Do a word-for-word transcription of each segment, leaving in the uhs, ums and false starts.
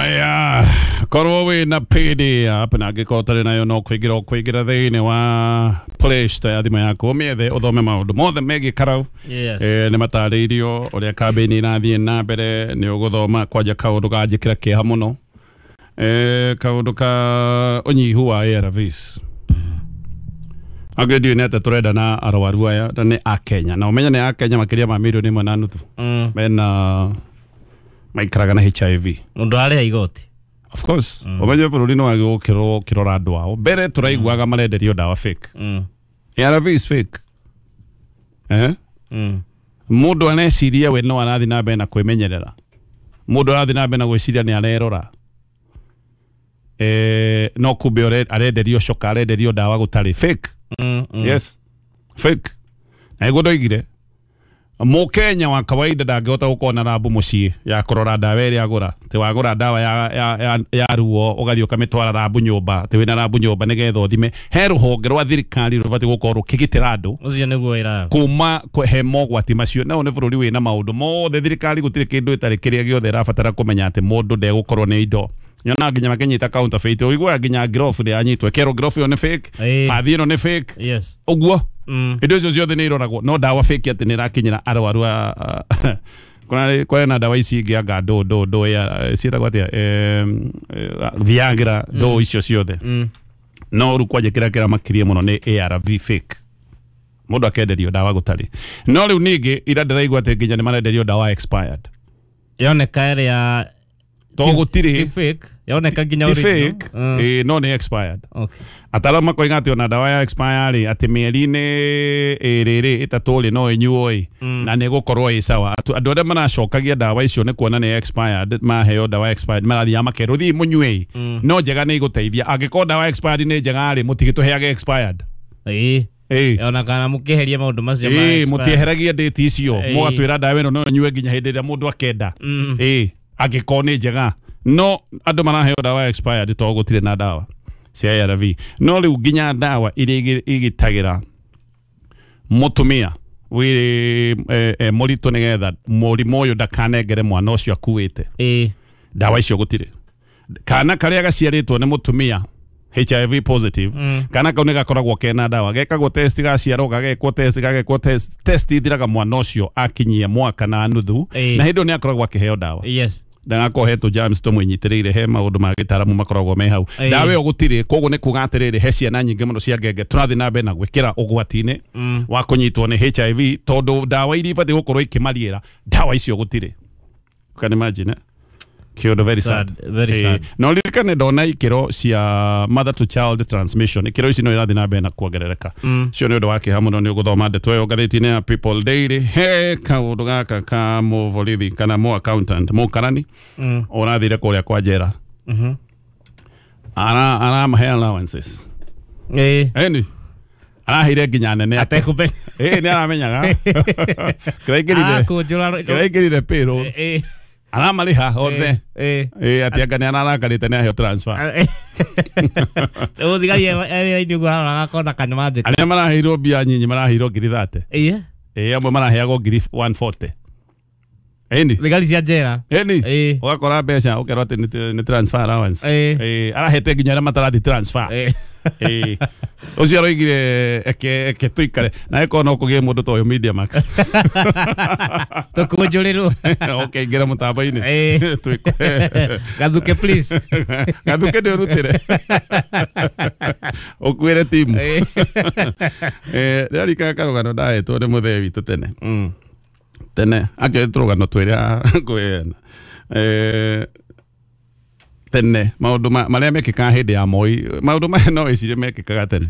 Aya, korwo wina P D app na angĩkorwo ũtarĩ nayo no kũingĩra ũkũingĩra thĩinĩ wa Play Store ya thimũ yaku ũmĩethe ũthome maũndũ mothe megiĩ Karau. Yes. Eh, nĩ matarĩirio ũrĩa kambĩini irathiĩ na mbere, nĩ ũgũthoma kwanja kaũndũ ganjĩkĩra kĩeha mũno. Eh, kaũndũ ka ũnyihu wa A R Vs. Angĩ ndiũĩ nĩ atĩa tũrenda na arwaru aya na nĩ a Kenya, na ũmenye nĩ a Kenya makĩria ma mirioni ĩmwe na nuthu. Mm. Mena maikaraga na H I V. Mũndũ arĩa igoti. Of course. Ũmenye bũrũri nĩ wagĩrĩirwo gũkĩrwo ũkĩrora andũ ao. Mbere tũraiguaga marenderio ndawa fake. Mm. A R V is fake. Eh? Mm. Mũndũ aneciria we no arathiĩ na mbere na kwĩmenyerera. Mũndũ arathiĩ na mbere na gwĩciria nĩ arerora. Eh, no kumbe arenderio coka, arenderio ndawa gũtarĩ fake. Mm, mm. Yes. Fake. Na nĩguo ndoigire Mũkenya wa kawaida ndangĩhota gũkorwo na rambu mũciĩ ya kũrora ndawa ĩrĩa agũra. Atĩ wagũra ndawa ya, ya, ya, ya ruo ũgathiĩ ũkamĩtwara rambu nyũmba, atĩ wĩna rambu nyũmba nĩgetha ũthime. He rũhonge rwa thirikari rũbatiĩ gũkorwo rũkĩgitĩra andũ Ũcio nĩguo wĩra. kuma he mogwati macio. Na ũyũ nĩ bũrũri wĩna maũndũ mothe, thirikari gũtirĩ kĩndũ ĩtarĩ kĩrĩa gĩothe ĩrabatara kũmenya atĩ mũndũ ndegũkorwo nĩ indo. Nyonaga nginya makĩnyita counterfeit, ũiguaga nginya ngirobu nĩ yanyitwo, ĩkerwo ngirobu ĩyo nĩ fake, bathi ĩno nĩ fake. Yes. Ũguo. Mm. Indo icio ciothe nĩ iroragwo, no ndawa fake atĩ nĩ ĩrakinyĩra arwaru a kuna kwena na ndawa ici ingĩ anga ndũ ndũ ndũ ya ciĩtagwo atĩa, eh, Viagra, ndũ icio ciothe. Mm. No rĩu kwanja kĩrĩa kĩramakirie mũno nĩ A R V fake. Mũndũ akenderio ndawa gũtarĩ. No rĩu ningĩ ira ndĩraigua atĩ nginya nĩ marenderio ndawa expired. Yoneka ĩrĩa To gũtirĩ ti fake, yoneka nginya ti original. fake, Mm. eh, no nĩ expired. Okay. Ataaramu makoiga atĩ ona ndawa ya expire rĩ, atĩ mĩeri-inĩ ĩrĩ rĩ, ĩtatũ rĩ, no ĩnyuo ĩ, Mm. na nĩ ĩgũkorwo ĩ sawa. Andũ arĩa maracokagia ndawa icio nĩ kuona nĩ expired, maheo ndawa expired marathiaga makerwo thiĩ mũnyue ĩ. Mm. No njega nĩ igũteithia. Angĩkorwo ndawa expired nĩ njega rĩ, mũtigĩtũheage expired. Ĩĩ. Ĩĩ. Ona kana mũkĩeheria maũndũ macio ma Ĩĩ, expired. mũtieheragie date icio, Ĩĩ. mũgatwĩra ndawa ĩno no ĩnyue nginya hĩndĩ ĩrĩa mũndũ akenda. Mm. Ĩĩ, angĩkorwo nĩ njega. No andũ maraheo ndawa expired to gũtirĩ na ndawa cia A R V. No rĩu nginya ndawa iria igitagĩra mũtumia wĩ eh, eh, mũritũ nĩgetha mũrimũ ũyũ ndakanengere mwana ũcio akuĩte. Ĩĩ. Ndawa icio gũtirĩ. Kana karĩa gaciarĩtwo nĩ mũtumia H I V positive, Mm. kana kau nĩ gakoragwo kena ndawa, gekagwo test gaciarwo, gagekwo test, gagekwo test, test ithiraga mwana ũcio akinyia mwaka na nuthu, Ĩĩ. na hĩndĩ ĩyo nĩ akoragwo akĩheo ndawa. Yes. Ndagakorwo hetwo germs tũmũnyitĩrĩire, he maũndũ ma gĩtaramu makoragwo me hau. Ĩĩ. Ndawa ĩyo gũtirĩ, koguo nĩ kuga atĩrĩrĩ, he ciana nyingĩ mũno cia ngenge tũrathiĩ na mbere na gwĩkĩra ũgwati-inĩ Mm. wa kũnyitwo nĩ H I V, tondũ ndawa iria ibatiĩ gũkorwo ikĩmariĩra, ndawa icio gũtirĩ. You can imagine, eh? Kĩũndũ very sad. Sad, very Eh, sad. na ũririkane ndona ikĩro cia mother to child transmission, ikĩro ici no irathiĩ na mbere na kuongerereka. Mm. Cio nĩ ũndũ wa kĩeha mũno, nĩ ũgũthoma ndeto ĩyo ngathĩti-inĩ ya People Daily. He kaũndũ gaka ka mũborithi kana mũ accountant mũkarani Mm. ũrathire kũrĩa kwa njera. Mhm. Ara aramahe allowances. Ĩĩ. Ĩni araheire nginya nene ake. Atekũmenya. Ĩĩ, nĩ aramenyaga. Kĩraingĩrire. Arakũnjũra. Kĩraingĩrire payroll. Ĩĩ. Aramarĩha othe. Ĩĩ. Ĩĩ, atĩ anga nĩ ararakarĩte nĩ aheo transfer. Rĩu thigari ĩrĩa ũguo arora gakona kanyua njĩka. Arĩa maraheirwo mbia nyinyi maraheirwo ngiri thate. Ĩĩ. Ĩĩ, amwe maraheagwo ngiri one forty. Ĩni. Thigari cia njera. Ĩni. Ĩĩ. Ũgakora mbeca ũkerwo atĩ nĩ transfer allowance. Ĩĩ. Ĩĩ, arahete nginya arĩa matarathi transfer. Ĩĩ. Ĩĩ. Ũcio aroigire eke eke tũikare na ĩkorwo no kũgĩe mũndũ ta ũyũ Media Max. Tũkũnjũrĩrwo. Okay, ingĩra mũtambo-inĩ. Ĩĩ. Twĩkwe. Gathuke please. Gathuke nĩ ũrutĩre. Ũkuĩre timu. Ĩĩ. Eh, ndĩrarikana karũgano ndahetwo nĩ mũthee witũ tene. Mm. Tene, akĩrĩ tũrũgano twĩrĩa ngwĩna. Eh, tene maũndũ marĩa mekĩkaga hĩndĩ ya Moi, maũndũ maya no wĩcirie mekĩkaga tene.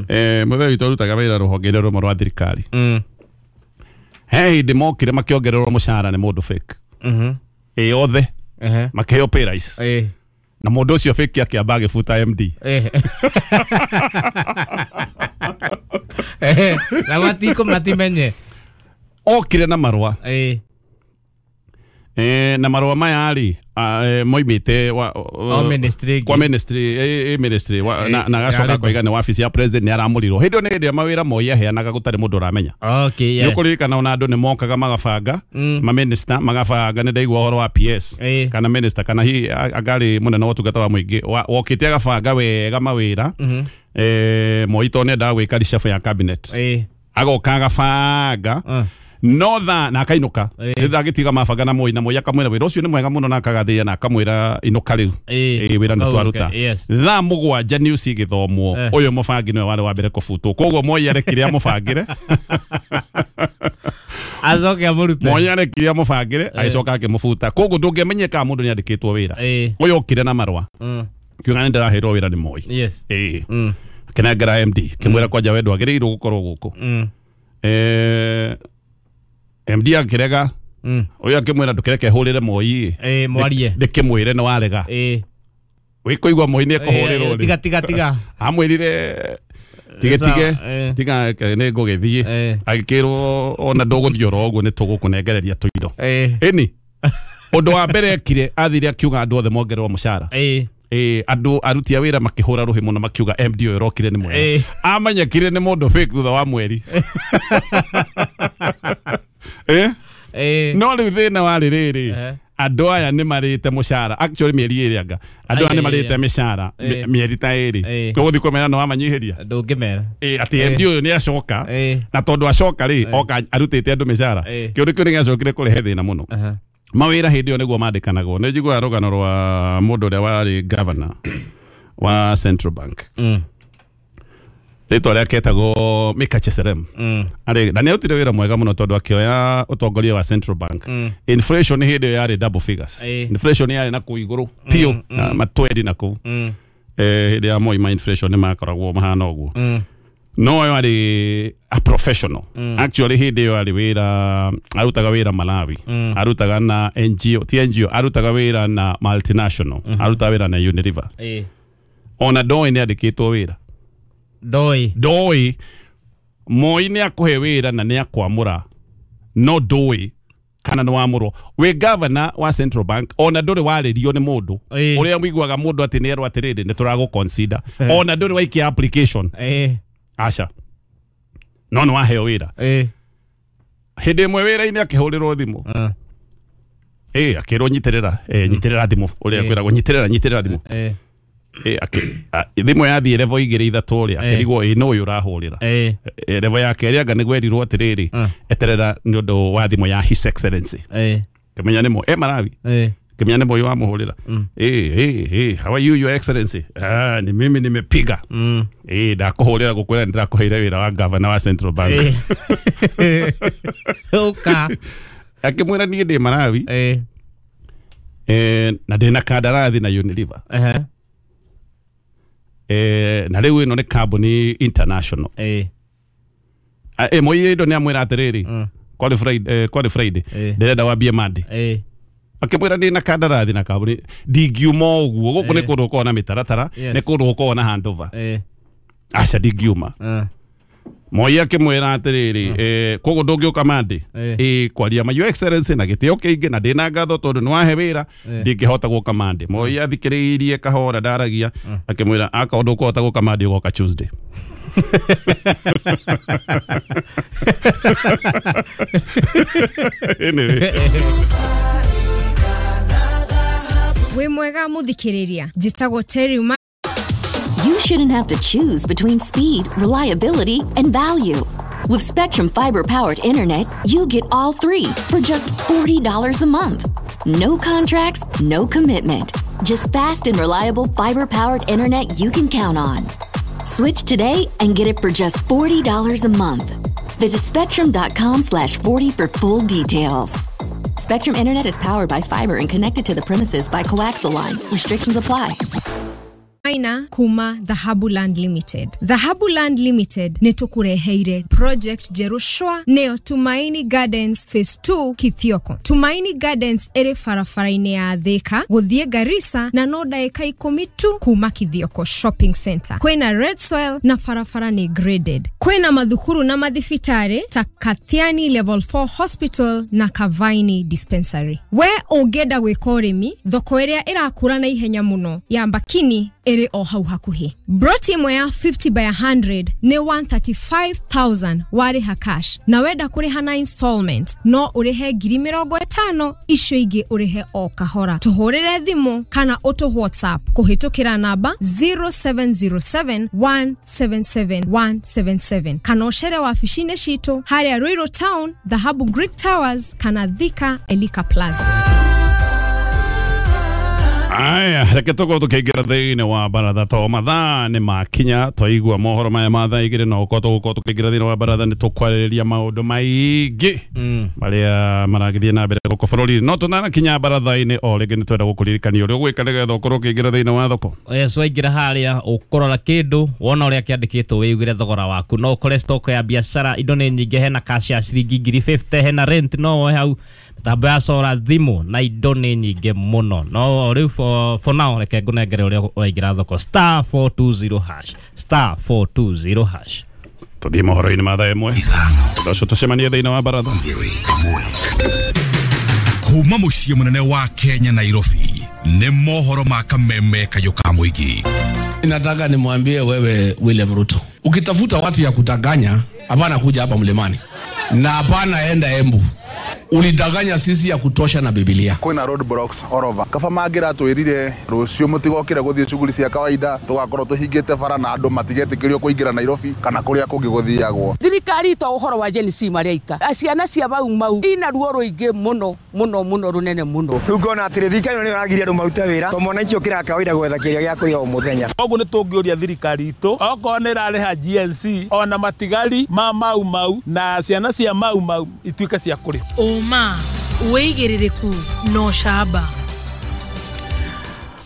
Eh, mũthee witũ arutaga wĩra rũhonge-inĩ rũmwe rwa thirikari. Mm. He hĩndĩ mokire makĩongererwo mũcara nĩ mũndũ fake. Mhm. Ĩ othe Ehe. makĩheo pay rise. Ĩ. Na mũndũ ũcio fake akĩamba agĩbuta M D. Ĩ. Eh, na matiko matimenye. Okire na marũa. Ĩ. Eh, na marũa maya rĩ moimĩte kwa ministry eh, ministry wa, na, na gacoka koiga nĩ wabici ya president nĩ aramũrirwo hĩndĩ ĩyo nĩ hĩndĩ ĩrĩa mawĩra Moi aheanaga gũtarĩ mũndũ ũramenya. Okay, yes. Nĩ ũkũririkana ona andũ nĩ mokaga magabanga mm. ma minister magabanga nĩ ndaigua ũhoro wa P S eh. kana minister kana hihi angarĩ mũnene wa ũtungata wa mũingĩ wokĩte agabanga wega mawĩra mm -hmm. eh, Moi to nĩendaga gwĩka reshuffle ya cabinet eh. agoka agabanga uh. no tha na akainuka rĩrĩa agĩtiga mabanga na Moi na Moi akamwĩra wĩra ũcio nĩ mwega mũno na akagathĩĩa na akamwĩra inũka rĩu ĩ wĩra nĩ twaruta. Thaa mũgwanja news igĩthomwo ũyũ mũbangi nĩwe warĩ wa mbere kũbutwo koguo Moi arekire amũbangĩre acoke amũrute Moi arekire amũbangĩre agĩcoka akĩmũbuta koguo ndũngĩamenyeka kana mũndũ nĩ andĩkĩtwo wĩra. Ũyũ okire na marũa kiuga nĩ ndĩraheirwo wĩra nĩ Moi. Ĩ akĩnengera M D kĩmwĩra kwanja we ndwagĩrĩirwo gũkorwo gũkũ. Eh M D akirega mm. uyu akimwira ndukireke hurire Moi eh mwarie ndikimwire ni warega eh wikuigua Moi ni ekuhurirwo tiga tiga tiga amwirire tige tige tiga ni ngugithie agikirwo ona nduguthie oro uguo ni tugukunengereria tuindo eh eni undu wa mbere ekire athire akiuga andu othe mongererwo mucara eh eh andu aruti a wira makihura ruhi muno makiuga M D uyu rokire ni mwega amenyekire ni mundu fake thutha wa mweri. Eh? Eh. No rĩu thĩna warĩ rĩrĩ andũ aya nĩ marĩte mũcara actually mĩeri ĩrĩ anga andũ aya nĩ marĩte mĩcara mĩeri ta ĩrĩ ũgũthiĩ kũmera nĩ wamanyihĩria ndũngĩmera ĩ atĩ M D ũyũ nĩ acoka na tondũ acoka rĩ oka arutĩte andũ mĩcara kĩũndũ kĩu nĩ gĩacokire kũrehe thĩna mũno. Mawĩra hĩndĩ ĩyo nĩguo mandĩkanagwo nĩ njiguaga rũgano rwa mũndũ ũrĩa warĩ governor wa Central Bank rĩtwa rĩake etagwo Mika Cheserem. Arĩ na nĩarutire wĩra mwega mũno tondũ akĩoya ũtongoria wa Central Bank. Inflation hĩndĩ ĩyo yarĩ double figures. Inflation yarĩ na kũu igũrũ piũ matwendi na kũu. Eh hĩndĩ ya Moi ma inflation nĩ makoragwo mahana ũguo. No ũyũ arĩ a professional. Actually hĩndĩ ĩyo arĩ wĩra arutaga wĩra Malawi. Arutaga na N G O, ti N G O, arutaga wĩra na multinational. Arutaga wĩra na Unilever. Ona ndoi nĩ andĩkĩtwo wĩra. Ndoi ndoi Moi nĩ akũhe wĩra na nĩ akwamũra no ndoi kana nĩ wamũrwo wĩ governor wa Central Bank ona ndũrĩ warĩrio nĩ mũndũ ũrĩa mũiguaga mũndũ atĩ nĩ erwo atĩrĩrĩ nĩ tũragũ consider ona ndũrĩ waikia application aca no nĩ waheo wĩra. Hĩndĩ ĩmwe wĩra-inĩ akĩhũrĩrwo thimũ ĩ akĩrwo nyitĩrĩra nyitĩrĩra thimũ ũrĩa kwĩragwo nyitĩrĩra nyitĩrĩra thimũ thimũ yathiĩ level igĩrĩ ithatũ rĩ akĩrigwo ĩ no ũyũ ũrahũrĩra level ya kerĩ anga nĩgwerirwo atĩrĩrĩ eterera nĩ ũndũ wa thimũ ya His Excellency kĩmenya nĩ Moi e Malawi kĩmenya nĩ Moi wamũhũrĩra ĩ ĩ ĩ how are you your excellency ah ni mimi nimepiga ĩ ndakũhũrĩra gũkwĩra nĩ ndĩrakũheire wĩra wa governor wa Central Bank ũka akĩmwĩra niĩ ndĩ Malawi eh na ndĩna kandarathi na Unilever eh na rĩu ĩno nĩ kambuni international eh eh Moi ĩndo nĩ amwĩra atĩrĩrĩ kwari Friday kwari Friday ndĩrenda wambie Monday eh akĩmwĩra ndĩ na kandarathi na kambuni ndingiuma ũguo gũkũ nĩ kũndũ gũkoragwo na mĩtaratara nĩ kũndũ gũkoragwo na handover eh aca ndingiuma Moi akĩmwĩra atĩrĩrĩ eh koguo ndũngĩũka Monday ĩ kwaria ma your excellency na gĩtĩo kĩingĩ na ndĩna ngatho tondũ nĩ wahe wĩra ndingĩhota gũka Monday. Moi athikĩrĩirie kahora ndaragia akĩmwĩra akorwo ndũkũhota gũka Monday ũgoka Tuesday. Anyway. Wĩ mwega mũthikĩrĩria njĩtagwo Terry. You shouldn't have to choose between speed, reliability, and value. With Spectrum Fiber-powered internet, you get all three for just forty dollars a month. No contracts, no commitment. Just fast and reliable fiber-powered internet you can count on. Switch today and get it for just forty dollars a month. Visit spectrum dot com slash forty for full details. Spectrum Internet is powered by fiber and connected to the premises by coaxial lines. Restrictions apply. Maina kuma Dhahabu Land Limited. Dhahabu Land Limited nĩ tũkũreheire project njerũ shwa, nĩyo Tumaini Gardens Phase two Kithioko. Tumaini Gardens ĩrĩ barabara-inĩ ya Thika gũthiĩ Garissa na no ndagĩka ikũmi tu kuma Kithioko Shopping Center. Kwĩna red soil na barabara nĩ graded. Kwĩna mathukuru na mathibitarĩ ta Kathiani Level four Hospital na Kavaini Dispensary. We ũngĩenda gwĩka ũrĩmi, thoko ĩrĩa ĩrakũra na ihenya mũno ya Mbakini ĩrĩ o hau hakuhĩ. Broti ĩmwe ya fifty by one hundred nĩ one hundred thirty-five thousand warĩha cash, na wenda kũrĩha na installment no ũrĩhe ngiri mĩrongo ĩtano, icio ingĩ ũrĩhe o kahora. Tũhũrĩre thimũ kana ũtũ WhatsApp kũhĩtũkĩra namba zero seven zero seven one seven seven one seven seven kana ũcere wabici-inĩ citũ harĩa Ruiru Town, Dhahabu Greek Towers, kana Thika Elika Plaza. Aya, reke tũkorwo tũkĩingĩra thĩinĩ wa baratha to mathaa nĩ makinya. Twaigua mohoro maya ma thaa igĩrĩ no ũkorwo tũgũkorwo tũkĩingĩra thĩinĩ wa baratha, nĩ tũkwarĩrĩria maũndũ maingĩ marĩa maragĩthiĩ na mbere gũkũ bũrũri-inĩ. No tũtanakinya baratha-inĩ, o rĩngĩ nĩ twenda gũkũririkania ũrĩa ũgwĩka nĩgetha ũkorwo ũkĩingĩra thĩinĩ wa thoko. Yes, waingĩra harĩa ũkũrora kĩndũ, wona ũrĩa kĩandĩkĩtwo, wĩugĩre thogora waku. No ũkore stock ya biacara, indo nĩ nyingĩ, hena cash ya ciringi ngiri mĩrongo ĩtano, hena rent no woe hau, mĩtambo ya solar, thimũ na indo nĩ nyingĩ mũno. No rĩu for, for now reke ngũnengere ũrĩa ũraingĩra thoko: star four two zero hash, star four two zero hash. Tũthiĩ mohoro-inĩ ma thaa ĩmwe, thutha ũcio tũcemanie thĩinĩ wa baratha. Kuma muciĩ mũnene wa Kenya, Nairobi, nĩ mohoro ma kameme kayũ ka mũingĩ. Nataka nimwambie wewe William Ruto, ukitafuta watu ya kudanganya, hapana kuja hapa mlimani na hapana enda Embu. Ulidanganya sisi ya kutosha na Biblia. Kwina road blocks all over. Kaba mangiratwirire rucio mutigokire guthie shughuli cia kawaida, tugakorwo tuhingite bara na andu matigetikirio kuingira Nairobi kana kuria kungi guthiagwo. Thirikari to uhoro wa Gen Z mareika ciana cia Mau Mau ina ruo ruingi muno muno muno runene muno. Riu ngona atiri thirikari ĩno nĩyo ĩragiria andũ marute wĩra to mwananchi ũkĩraga kawaida gwetha kĩrĩa gĩa kũrĩa o mũthenya. Koguo nĩ tũngĩũria thirikari itũ okorwo nĩ ĩrarĩha G N C ona matigari ma Mau Mau na ciana cia Mau Mau ituĩke cia kũrĩha. Ũma, wĩigĩrĩrĩku na ũcamba.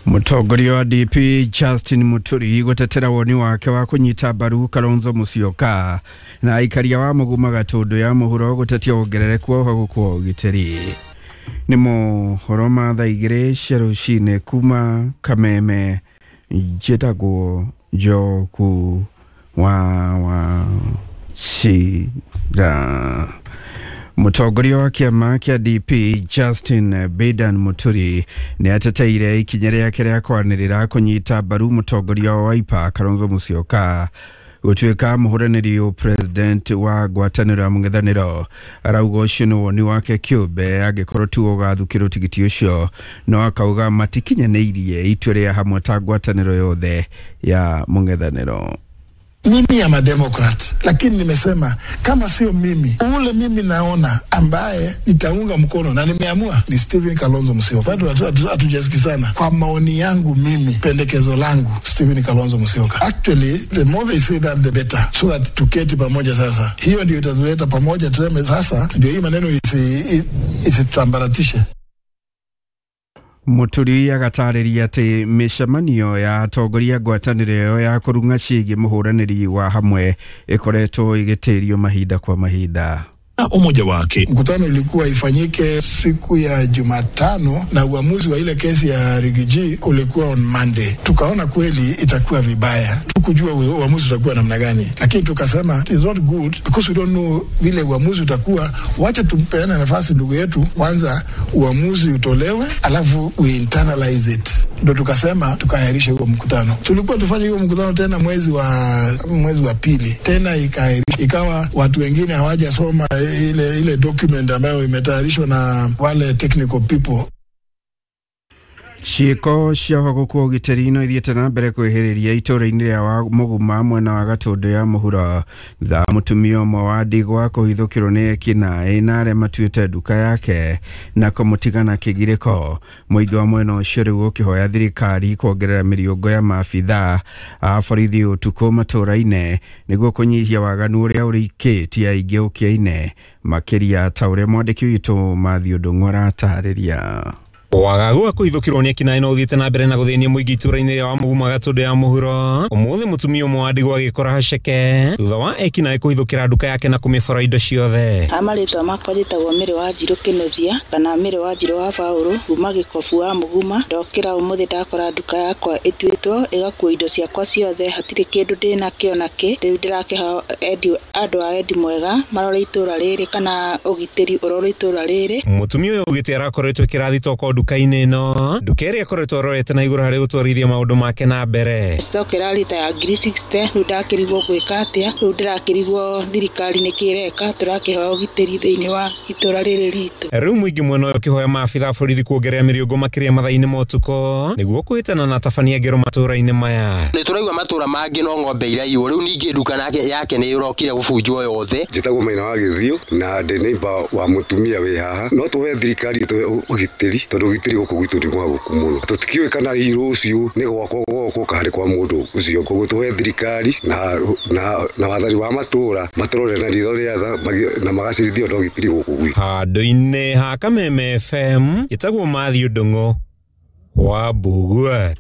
Mũtongoria wa D P Justin Muturi gũtetera woni wake wa kũnyita mbaru Kalonzo Musyoka, na aikaria wa Mũguma Gatũndũ ya mũhuro gũtetia wongerereku wa ũhagũku wa ũgitĩri. Nĩ mohoro ma thaa igĩrĩ cia rũcinĩ kuma Kameme, njĩtagwo Njoku wa wa Cira. Mũtongoria wa kĩama kĩa D P Justin Bedan Muturi nĩ ateteire ikinya rĩake rĩa kwanĩrĩra kũnyita mbaru mũtongoria wa Wiper Kalonzo Musyoka gũtuĩka mũhũranĩri president wa ngwatanĩro ya mũng'ethanĩro. Arauga ũcio nĩ woni wake kĩũmbe angĩkorwo tu ũgathukĩrwo tigiti ũcio, no akauga matikinyanĩirie itua rĩa hamwe ta ngwatanĩro yothe ya mũng'ethanĩro. Mimi am a Democrat, lakini nimesema kama sio mimi, ule mimi naona ambaye nitaunga mkono na nimeamua ni Stephen Kalonzo Musyoka. Bado hatujasikizana. Kwa maoni yangu mimi, pendekezo langu Stephen Kalonzo Musyoka. Actually, the more they say that, the better, so that tuketi pamoja sasa. Hiyo ndio itatuleta pamoja, tuseme sasa ndio hii maneno isitambaratishe. Muturi agatarĩria atĩ mĩcemanio ya atongoria ngwatanĩro ĩyo ya kũrung'a ciĩgiĩ mũhũranĩri wa hamwe ĩkoretwo ĩgĩtĩrio mahinda kwa mahinda. Umoja wake. Mkutano ilikuwa ifanyike siku ya Jumatano na uamuzi wa ile kesi ya Riggy G ulikuwa on Monday. Tukaona kweli itakuwa vibaya, tukujua uamuzi utakuwa namna gani, lakini tukasema it's not good because we don't know vile uamuzi utakuwa. Wacha tumpeane nafasi ndugu yetu kwanza, uamuzi utolewe, alafu we internalize it. Ndio tukasema tukaahirisha huo mkutano. Tulikuwa tufanye huo mkutano tena mwezi wa mwezi wa pili, tena ikaahirishwa, ikawa watu wengine hawajasoma ile ile document ambayo imetayarishwa na wale technical people. Ciĩko cia ũhagũku wa ũgitĩri no ithiĩte na mbere kwĩhĩrĩria itũũra-inĩ rĩa wa Mũguma mwena wa Gatũndũ ya mũhuro thutha wa mũtumia ũmwe wa ndigwa kũhithũkĩrwo nĩ ekinaĩ na arĩa matuĩte nduka yake na kũmũtiga na kĩgirĩko. Mũingĩ wa mwena ũcio rĩu ũkĩhoya thirikari kuongerera mĩriũngũ ya maabithaa a borithi ũtukũ matũũra-inĩ nĩguo kũnyihia waganu ũrĩa ũrĩkĩtie aingĩ ũkĩa-inĩ, makĩria ta ũrĩa mwandĩki witũ Matthew Ndung'u aratarĩria. Wagagu wa kũhithũkĩrwo nĩ ekinaĩ no ũthiĩte na mbere na gũthĩnia mũingĩ itũũra-inĩ rĩa Wamugumo Gatũndũ ya mũhuro. Ũmũthĩ mũtumia ũmwe wa ndigwa agĩkora haceke thutha wa ekinaĩ kũhithũkĩra nduka yake na kũmĩbora indo ciothe. Marĩtwa makwa njĩtagwo Mĩrĩ wa Njirũ Kĩnuthia kana Mĩrĩ wa Njirũ wa Baũrũ kuma Gĩkobu wa Mũguma. Ndokĩra ũmũthĩ ndakora nduka yakwa ĩtuĩtwo ĩgakuo indo ciakwa ciothe, hatirĩ kĩndũ ndĩnakĩo nakĩ. Rĩu ndĩrakĩha endi andũ a wendi mwega marore itũũra rĩrĩ kana ũgitĩri ũrore itũũra rĩrĩ. Mũtumia ũyũ augĩte arakoretwo kĩrathi toko nduka-inĩ ĩno, nduka ĩrĩa akoretwo arorete na igũrũ harĩ gũtwarithia maũndũ make na mbere. Stock ĩrarĩ ta ya ngiri sixty, rĩu ndakĩrigwo gwĩka atĩa, rĩu ndĩrakĩrigwo thirikari nĩkĩ ĩreka, tũrakĩhoya ũgitĩri thĩinĩ wa itũũra rĩrĩ ritũ. Rĩu mũingĩ mwena ũyũ ũkĩhoya maabitha a borithi kuongerera mĩrĩngũ makĩria mathaa-inĩ ma ũtukũ nĩguo kũhĩtana na atabania ngero matũũra-inĩ maya. Nĩ tũraigua matũũra mangĩ no ng'ombe iraiywo, rĩu ningĩ nduka nake yake nĩ ĩrokire gũbunjwo yothe. Njĩtagwo Maina wa Gĩthiũ na ndĩ neighbor wa mũtumia wĩ haha. No tũhe thirikari tũhe ũgitĩri tondũ ũgitĩri gũkũ gwitũ nĩ mwagũku mũno. Tũtikĩũĩ kana hihi rũciũ nĩ gwakwa gwokwo kana nĩ kwa mũndũ ũcio. Koguo tũhe thirikari na na na wathani wa matũũra matũrore na ritho rĩa tha na magacĩrithia ũndũ ũgitĩri gũkũ gwitũ. Handũ-inĩ ha Kameme F M njĩtagwo Matthew Ndung'u wa Mbugua.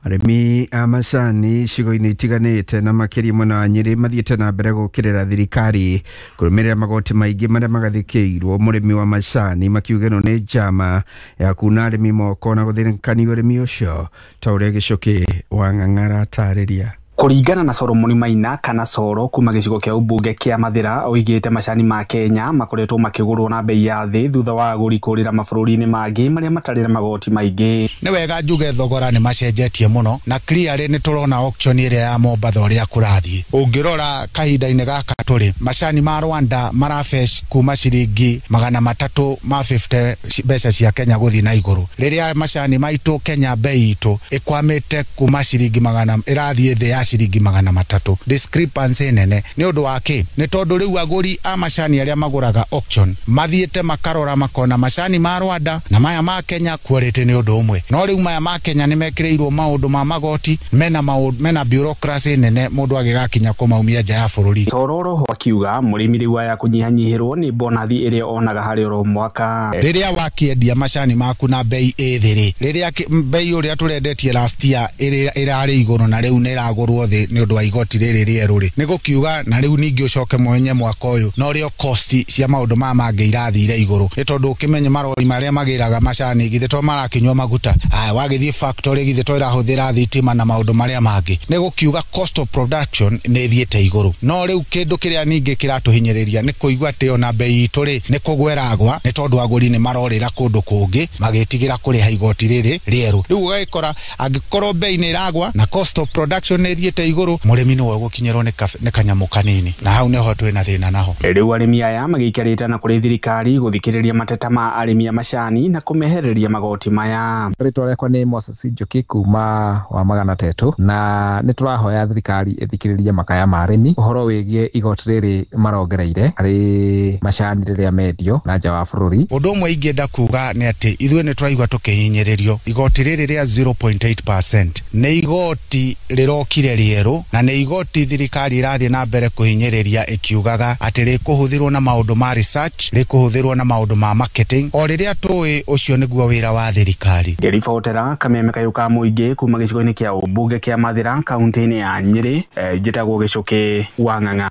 Arĩmi a macani icigo-inĩ itiganĩte na makĩria mwena wa Nyĩrĩ mathiĩte na mbere gũkĩrĩra thirikari kũrũmĩrĩra magoti maingĩ marĩa magathĩkĩirwo mũrĩmi wa macani, makiuga ĩno nĩ njama ya kuna arĩmi moko na gũthĩnĩkania ũrĩmi ũcio, ta ũrĩa Gĩcũkĩ wa Ng'ang'ara atarĩria. Kũringana na Solomon Maina kana Soro kuma gĩcigo kĩa ũmbunge kĩa Mathĩra, oigĩte macani ma Kenya makoretwo makĩgũrwo na bei ya thĩ thutha wa agũri kũrĩra mabũrũri-inĩ mangĩ marĩa matarĩ na magoti maingĩ. Nĩ wega njuge thogora nĩ macenjetie mũno na clearly nĩ tũrona auction ĩrĩa ya Mombatha ũrĩa kũrathiĩ. Ũngĩrora kahinda-inĩ gaka tũrĩ, macani ma Rwanda marafesh kuma ciringi magana matatũ ma fifty mbeca cia Kenya gũthiĩ na igũrũ, rĩrĩa macani maitũ Kenya bei itũ ĩkwamĩte kuma ciringi magana ĩrathiĩ thĩ ya ciringi magana matatũ. Discrepancy nene nĩ ũndũ wa kĩ? Nĩ tondũ rĩu agũri a macani arĩa magũraga auction mathiĩte makarora makona macani ma Rwanda na maya ma Kenya quality nĩ ũndũ ũmwe, no rĩu maya ma Kenya nĩ mekĩrĩirwo maũndũ ma magoti mena maũndũ mena bureaucracy nene mũndũ agĩgakinya kũmaumia nja ya bũrũri. Tororo akiuga mũrĩmi rĩu aya kũnyihanyihĩrwo nĩ bonathi ĩrĩa onaga harĩ oro mwaka. Rĩrĩa wakĩendia macani maku na bei ĩ thĩ rĩ, rĩrĩa bei ũrĩa tũrendetie last year ĩrarĩ igũrũ na rĩu nĩ ĩragũrwo thĩ nĩ ũndũ wa igoti rĩrĩ rĩerũ rĩ, nĩ gũkiuga na rĩu ningĩ ũcoke mwenye mwaka ũyũ no rĩo cost cia maũndũ maya mangĩ irathire igũrũ, nĩ tondũ ũkĩmenye marori marĩa magĩraga macani githĩ to marakĩnyua maguta, aya wagĩthiĩ factory githĩ to ĩrahũthĩra thitima na maũndũ marĩa mangĩ, nĩ gũkiuga cost of production nĩ ĩthiĩte igũrũ. No rĩu kĩndũ kĩrĩa ningĩ kĩratũhinyĩrĩria nĩ kũigua atĩ ona bei itũ rĩ nĩ kũgweragwa, nĩ tondũ agũri nĩ marorĩra kũndũ kũngĩ magĩtigĩra kũrĩha igoti rĩrĩ rĩerũ. Rĩu ũgagĩkora angĩkorwo bei nĩ ĩragwa na cost of production nĩ ĩthiĩte igũrũ, mũrĩmi nĩwe ũgũkinyĩrwo nĩ kanyamũ kanini, na hau nĩho twĩna thĩna naho. Rĩu arĩmi aya magĩikarĩte na kũrĩ thirikari gũthikĩrĩria mateta ma arĩmi a macani na kũmehereria magoti maya. Rĩtwa rĩakwa nĩ Moses Njoki kuma wa magana tetũ, na nĩ tũrahoya thirikari ĩthikĩrĩrie makaya ma arĩmi ũhoro wĩgiĩ igoti rĩrĩ marongereire harĩ macani rĩrĩa mendio na nja wa bũrũri. Ũndũ ũmwe ingĩenda kuga nĩ atĩ ithuĩ nĩ tũraigua tũkĩhinyĩrĩrio. Igoti rĩrĩ rĩa zero point eight percent nĩ igoti rĩrokire rĩerũ na nĩ igoti thirikari ĩrathiĩ na mbere kũhinyĩrĩria ĩkiugaga atĩ rĩkũhũthĩrwo na maũndũ ma research, rĩkũhũthĩrwo na maũndũ ma marketing, o rĩrĩa tũĩ ũcio nĩguo wĩra wa thirikari. Ngĩribotera Kameme Kayũ ka mũingĩ kuma gĩcigo-inĩ kĩa ũmbunge kĩa Mathĩra kaunti-inĩ ya Nyĩrĩ, njĩtagwo Gĩcũkĩ wa Ng'ang'a.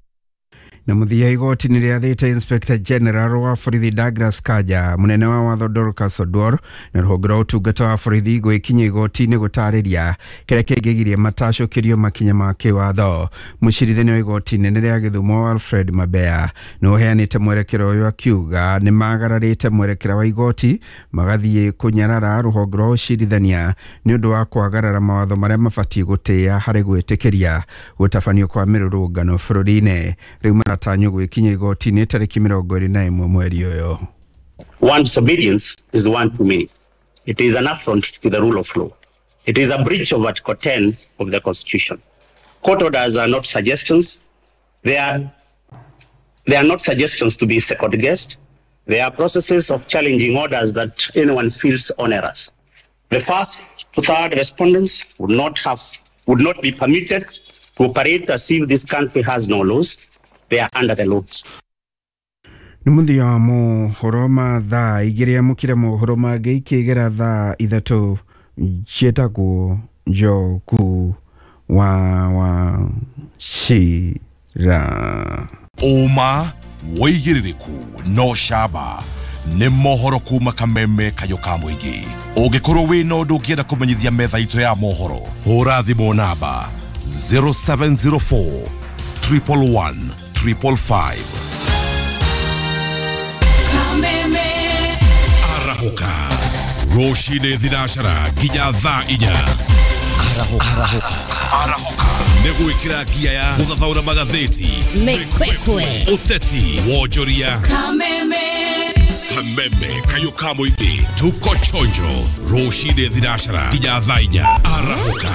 Na mũthia igoti nĩ rĩathĩte Inspector General wa borithi Douglas Kanja, mũnene wa watho Dorcas Oduor na rũhonge rwa ũtungata wa borithi gwĩkinyia igoti-inĩ gũtarĩria kĩrĩa kĩngĩgiria matacũkĩrio makinya ma kĩwatho. Mũcirithania wa igoti inene rĩa Gĩthumo Alfred Mabea nĩ ũheanĩte mwerekera ũyũ akiuga nĩ magararĩte mwerekera wa igoti magathiĩ kũnyarara rũhonge rwa ũcirithania nĩ ũndũ wa kwagarara mawatho marĩa mabatiĩ gũtĩĩa harĩ gwĩtĩkĩria gũtabanio kwa mĩrũrũngano bũrũri-inĩ. Rĩu maratanywo gwĩkinya igoti-inĩ tarĩki mĩrongo ĩrĩ na ĩmwe mweri ũyũ. One disobedience is one too many. It is an affront to the rule of law. It is a breach of Article ten of the Constitution. Court orders are not suggestions. They are, they are not suggestions to be second-guessed. They are processes of challenging orders that anyone feels onerous. The first to third respondents would not have, would not be permitted to operate as if this country has no laws. They are under the law. Nĩ mũthia wa mohoro ma thaa igĩrĩ. Amũkĩre mohoro mangĩ ikĩgera thaa ithatũ. Njĩtagwo Njogu wa Wachira. Ũma, wĩigĩrĩrĩku no camba nĩ mohoro kuma Kameme Kayũ ka mũingĩ. Ũngĩkorwo wĩna ũndũ ũngĩenda kũmenyithia metha itũ ya mohoro, hũra thimũ namba zero seven zero four triple one triple five. Arahũka rũcinĩ thinacara nginya thaa inya. Arahũka nĩ gwĩkĩra ngia ya gũthathaũra magathĩti, Mĩkwekwe, ũteti, wonjoria. Kameme. Kameme Kayũ ka mũingĩ, tuko chonjo rũcinĩ thinacara nginya thaa inya. Arahũka.